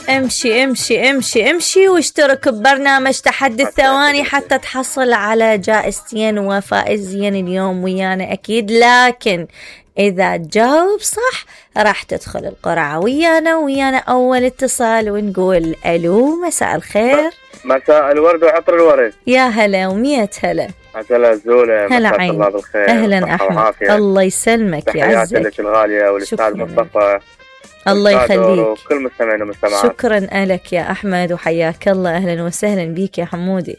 امشي امشي امشي امشي واشترك ببرنامج تحدي الثواني حتى تحصل على جائزتين وفائزين اليوم ويانا أكيد. لكن إذا تجاوب صح راح تدخل القرعة ويانا أول اتصال ونقول ألو مساء الخير. مساء الورد وعطر الورد. يا هلا ومية هلا. هلا الزولة. هلا عيني. الله بالخير. أهلا أحمد. الله يسلمك يعزك. تحياتي لك الغالية والأستاذ مصطفى. الله يخليك. وكل مستمعين ومستمعات. شكرا لك يا أحمد وحياك الله. أهلا وسهلا بيك يا حمودي.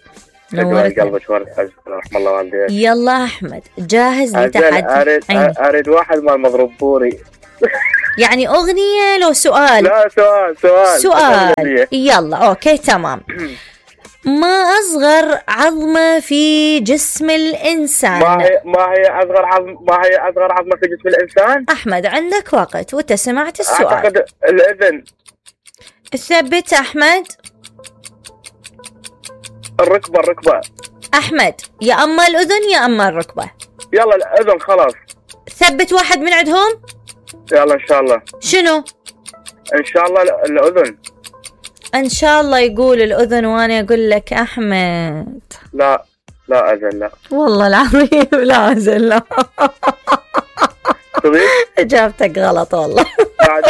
نورت قلبك ورد رحم الله والديك. يلا أحمد جاهز لتحدي؟ أريد واحد مال مضروب بوري. يعني أغنية لو سؤال؟ لا سؤال. يلا أوكي تمام. ما أصغر عظمة في جسم الإنسان؟ ما هي أصغر عظمة في جسم الإنسان؟ أحمد عندك وقت وأنت سمعت السؤال. أعتقد الأذن. ثبت أحمد. الركبة. أحمد يا أما الأذن يا أما الركبة. يلا الأذن خلاص. ثبت واحد من عندهم. يلا إن شاء الله. شنو؟ إن شاء الله الأذن. إن شاء الله يقول الأذن وأنا أقول لك أحمد. لا أذن لا. والله العظيم لا أذن لا. إجابتك غلط والله. بعد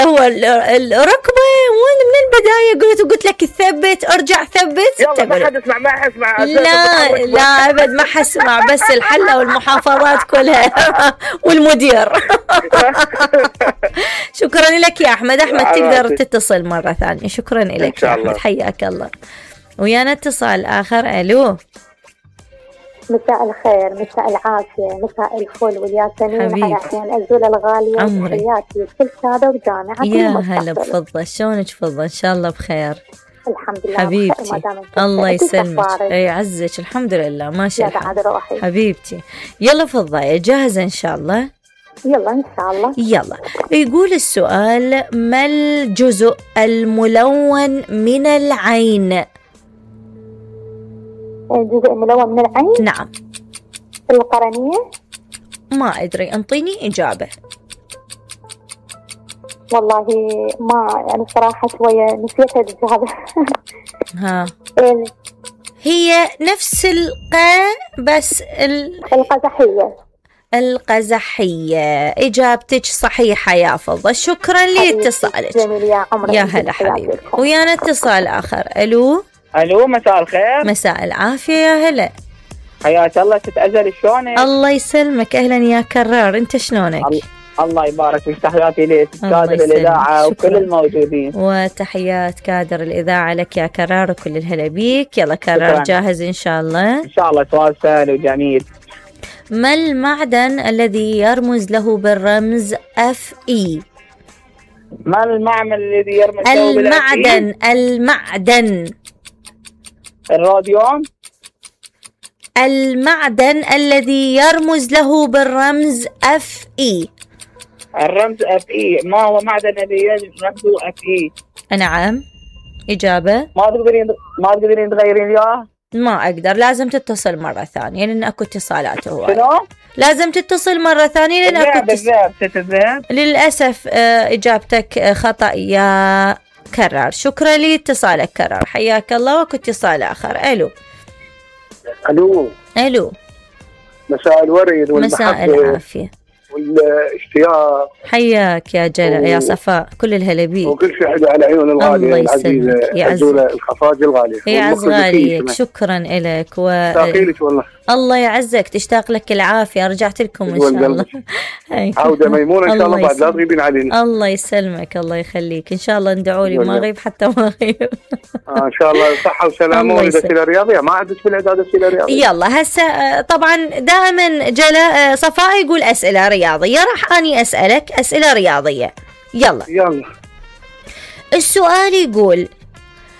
هو الركبة من البداية قلت لك ثبت ارجع ثبت. يلا ما حد يسمع ما حسمع. لا أبد ما حسمع بس الحلة والمحافظات كلها والمدير. شكرا لك يا أحمد تقدر تتصل مرة ثانية. شكرا لك يا أحمد حياك الله. ويانا اتصال آخر. ألو مساء الخير مساء العافية مساء الفل والياسمين على أحيان الزولة الغالية. تحياتي كل سادة وجامعة. يا هلا بفضة شلونك فضة؟ إن شاء الله بخير. الحمد لله حبيبتي الله يسلمك. يعزك الحمد لله ماشي الحال حبيبتي. يلا فضة جاهزة إن شاء الله؟ يلا إن شاء الله. يلا يقول السؤال ما الجزء الملون من العين؟ الجزء الملون من العين؟ نعم. القرنية؟ ما أدري انطيني إجابة. والله ما يعني صراحة شوية نسيت الإجابة. ها هي نفس بس القزحية. إجابتك صحيحة يا فضة. شكرا لاتصالك. جميل يا عمري. يا هلا حبيبي. ويانا اتصال آخر. ألو مساء الخير. مساء العافية يا هلا. حياك الله. تتأزل شلونك؟ الله يسلمك. أهلا يا كرار أنت شلونك؟ الله يبارك فيك. تحياتي لك كادر الإذاعة وكل الموجودين. وتحيات كادر الإذاعة لك يا كرار وكل الهلا بيك. يلا كرار جاهز إن شاء الله؟ إن شاء الله. سؤال سهل وجميل. ما المعدن الذي يرمز له بالرمز FE؟ ما المعمل الذي يرمز له بالرمز المعدن الراديوم. المعدن الذي يرمز له بالرمز FE. الرمز FE. ما هو معدن الذي رمزه FE؟ نعم. إجابة ما تقدرين تغيرين إياه؟ ما أقدر. لازم تتصل مرة ثانية لأن أكو اتصالات. هو شنو؟ لازم تتصل مرة ثانية لأن أكو الذهب. للأسف إجابتك خطأ يا كرار. شكرا لاتصالك كرار حياك الله. وأكو اتصال آخر. ألو مساء الورد مساء العافية والاشتياق. حياك يا جلا يا صفاء كل الهلا بيك وكل شيء حدا على عيون الغالية العزيزة الزولة الخفاجة الغالية. يعز غاليك. شكرا لك تاقيلك والله. الله يعزك. تشتاق لك العافية. رجعت لكم إن شاء الله. عودة ميمونة إن شاء الله بعد لا تغيبين علينا. الله يسلمك الله يخليك. إن شاء الله ندعوا لي ما غيب حتى ما غيب. إن شاء الله صحة وسلامة ولدة الرياضية. ما عدت بالعدادة الرياضية. يلا هسه طبعا دائما جلا صفاء يقول أسئلة رياضية راح أني أسألك أسئلة رياضية. يلا السؤال يقول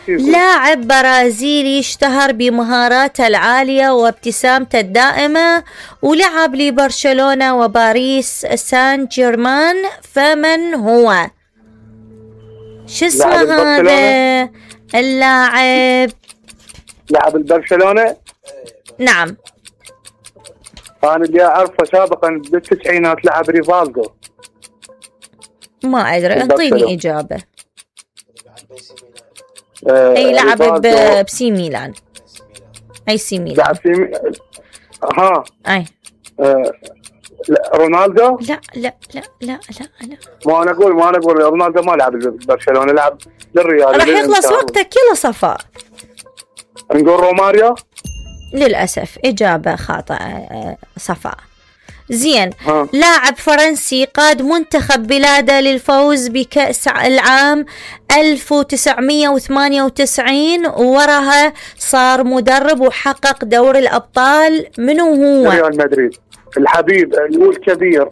لاعب برازيلي اشتهر بمهاراته العالية وابتسامته الدائمة ولعب لبرشلونة وباريس سان جيرمان فمن هو؟ شو اسمه هذا اللاعب؟ لاعب البرشلونة. نعم. أنا اللي أعرفه سابقا بالتسعينات لعب ريفالدو. ما أدري، انطيني إجابة. أي لعب بسي ميلان. أي سي ميلان. أي لا رونالدو. لا لا لا لا لا لا. ما أنا أقول رونالدو ما لعب برشلونة، لعب للريال. راح يخلص وقتك يلا صفاء. نقول روماريو. للأسف إجابة خاطئة صفاء. زين. لاعب فرنسي قاد منتخب بلاده للفوز بكأس العام 1998 ووراها صار مدرب وحقق دور الأبطال. منو هو؟ ريال مدريد. الحبيب الكبير،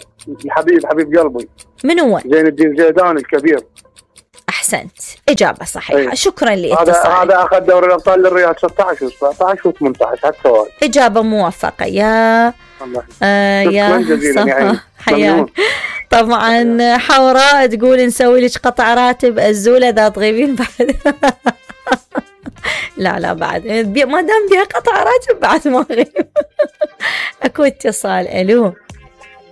حبيب قلبي. منو هو؟ زين الدين زيدان الكبير. أحسنت، إجابة صحيحة. أيه. شكرا لاتصالك. هذا أخذ دوري الأبطال للريال 16 و17 و18 على التوالي. إجابة موفقة يا يا صفا، حياك. طبعا حوراء تقول نسوي لك قطع راتب الزولة إذا تغيبين بعد. لا بعد ما دام بيها قطع راتب بعد ما أغيب. أكو اتصال.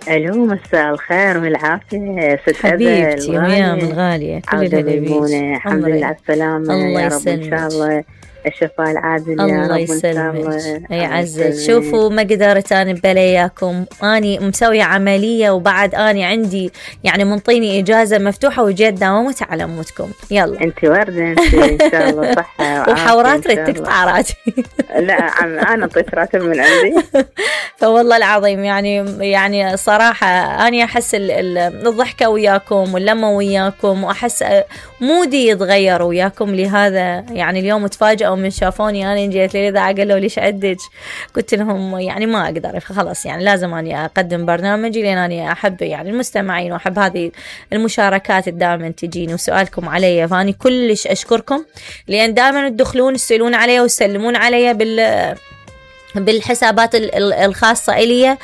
ألو مساء الخير والعافية ست حبيبتي ويام الغالية، كل الهلا. الحمد لله على السلامة. الله يا رب إن شاء الله الشفاء العاجل. الله يسلمك. أي عزك. شوفوا ما قدرت أنا بلاياكم، أني مسوية عملية وبعد أني عندي يعني منطيني إجازة مفتوحة وجيت داومت على موتكم. يلا أنت وردة أنت إن شاء الله صحة وحورات ريت تقطع راتبي. لا أنا أعطيت راتب من عندي. فوالله العظيم يعني صراحة أنا أحس الضحكة وياكم واللمة وياكم، وأحس مودي يتغير وياكم. لهذا يعني اليوم تفاجئوا من شافوني أنا جيت لي إذا قالوا ليش عدج، قلت لهم يعني ما أقدر خلاص، يعني لازم أني أقدم برنامجي لأن أنا أحب يعني المستمعين وأحب هذه المشاركات دائما تجيني وسؤالكم علي. فأني كلش أشكركم لأن دائما تدخلون تسألون علي وتسلمون علي بالحسابات الخاصة إلي.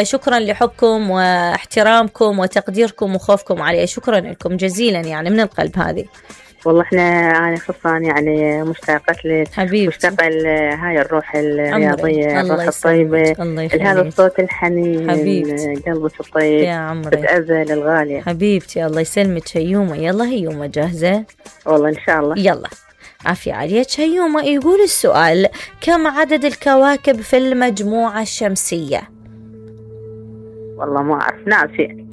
شكرا لحبكم واحترامكم وتقديركم وخوفكم علي، شكرا لكم جزيلا يعني من القلب. هذه والله أنا خصان يعني مشتاقة لك حبيبتي، مشتاقة هاي الروح الرياضية، الروح الطيبة، هذا الصوت الحنين حبيبتي، قلبك الطيب يا عمري، بتأذل الغالية حبيبتي. الله يسلمك. هيومة يلا هيومة جاهزة؟ والله إن شاء الله. يلا عافية عليك هيومة. يقول السؤال: كم عدد الكواكب في المجموعة الشمسية؟ والله ما أعرف، ناسي.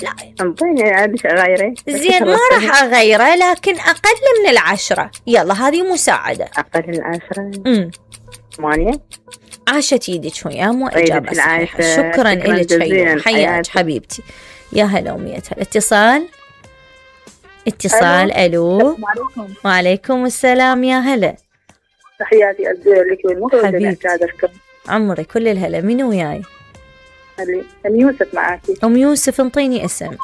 لا انطيني عادش أغيره. زين ما راح أغيره، لكن أقل من 10. يلا هذه مساعدة. أقل من 10. 8. عاشت يدك ويا مو إجابة صحيحة. شكرا إلك هيومة، حياك حبيبتي. يا هلا ومية هلا. اتصال. ألو. وعليكم السلام. يا هلا. تحياتي لك حبيبتي عمري، كل الهلا. مين وياي؟ أم يوسف معاكي. أم يوسف انطيني اسم.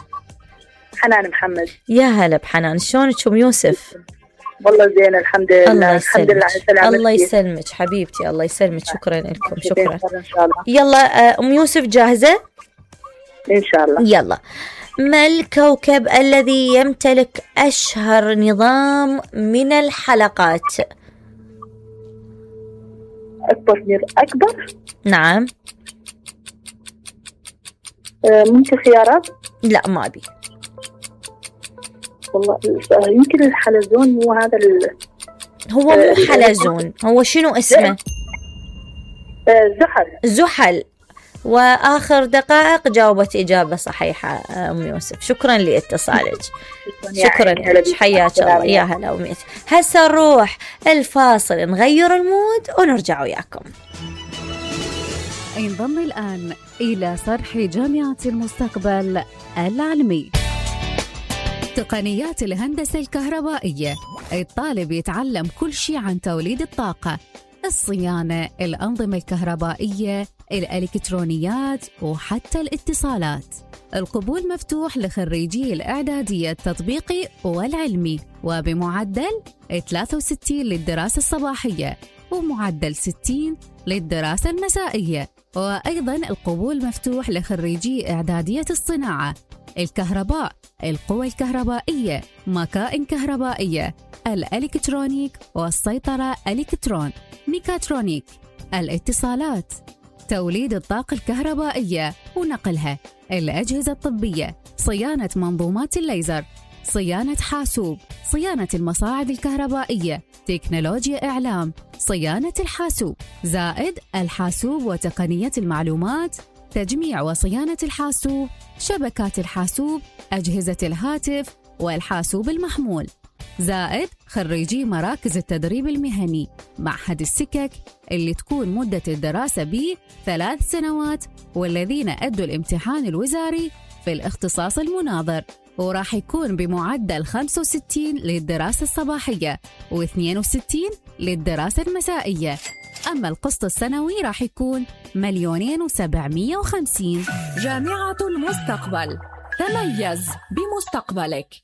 حنان محمد. يا هلا بحنان، شلونك أم يوسف؟ والله زين الحمد لله. الحمد لله على سلامتك. الله يسلمك حبيبتي، الله يسلمك. شكرا لكم. شكرا إن شاء الله. يلا أم يوسف جاهزة؟ إن شاء الله. يلا. ما الكوكب الذي يمتلك أشهر نظام من الحلقات؟ أكبر؟ نعم. ممكن خيارات؟ لا ما أبي. والله يمكن الحلزون. هو هذا هو مو حلزون، هو شنو اسمه؟ زحل. وآخر دقائق جاوبت إجابة صحيحة أم يوسف. شكرا لاتصالك. شكرا لك، حياك الله. يا هلا وميت. هسه نروح الفاصل نغير المود ونرجع وياكم. انضم الآن إلى صرح جامعة المستقبل العلمي. تقنيات الهندسة الكهربائية، الطالب يتعلم كل شيء عن توليد الطاقة، الصيانة، الأنظمة الكهربائية، الإلكترونيات وحتى الاتصالات. القبول مفتوح لخريجي الإعدادية التطبيقي والعلمي، وبمعدل 63 للدراسة الصباحية ومعدل 60 للدراسة المسائية. وأيضا القبول مفتوح لخريجي إعدادية الصناعة، الكهرباء، القوى الكهربائية، مكائن كهربائية، الإلكترونيك والسيطرة إلكترون، ميكاترونيك، الاتصالات، توليد الطاقة الكهربائية ونقلها، الأجهزة الطبية، صيانة منظومات الليزر، صيانة حاسوب، صيانة المصاعد الكهربائية، تكنولوجيا إعلام، صيانة الحاسوب، زائد الحاسوب وتقنية المعلومات، تجميع وصيانة الحاسوب، شبكات الحاسوب، أجهزة الهاتف والحاسوب المحمول، زائد خريجي مراكز التدريب المهني، معهد السكك اللي تكون مدة الدراسة به 3 سنوات، والذين أدوا الامتحان الوزاري في الاختصاص المناظر، وراح يكون بمعدل 65 للدراسة الصباحية و62 للدراسة المسائية. أما القسط السنوي راح يكون 2,750,000. جامعة المستقبل، تميز بمستقبلك.